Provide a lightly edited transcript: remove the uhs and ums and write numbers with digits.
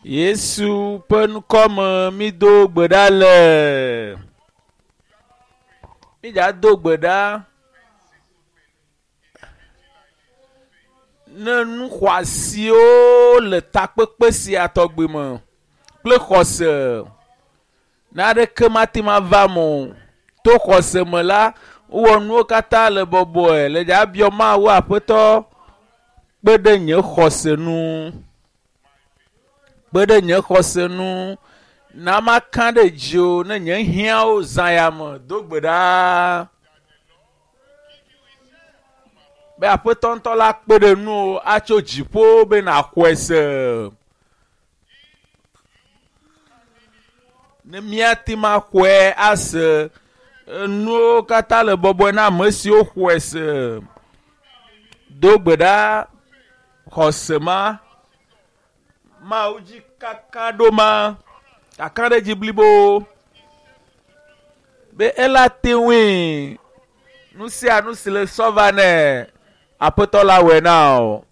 Yesu ƒe ŋkɔ me mído gbe ɖa le. Mídza do gbe ɖa ne nu xɔasiwo le takpekpe sia tɔgbi me kple xɔse naɖeke mate ŋu ava eme o. To xɔse me la, wowɔ nuwo katã le bɔbɔe le dza biɔ Mawu Aƒetɔ kpe ɖe nye xɔse nu. Kpe ɖe nye xɔse nu na maka ɖe dziwò ne nye hiãwo zã ya me. Do gbe ɖa be Aƒetɔ ŋutɔ la kpe ɖe nuwò atso dziƒo be nàxɔe se. Ne míate ŋu axɔe ase, enuwo katã le bɔbɔe na ame siwo xɔe se. Do gbe ɖa xɔse ma, Mawu dzi kaka ɖo ma, kakaɖedzi blibo be ela te ŋui nu sia nu si le sɔ va nɛ Aƒetɔ la wɔe na wò.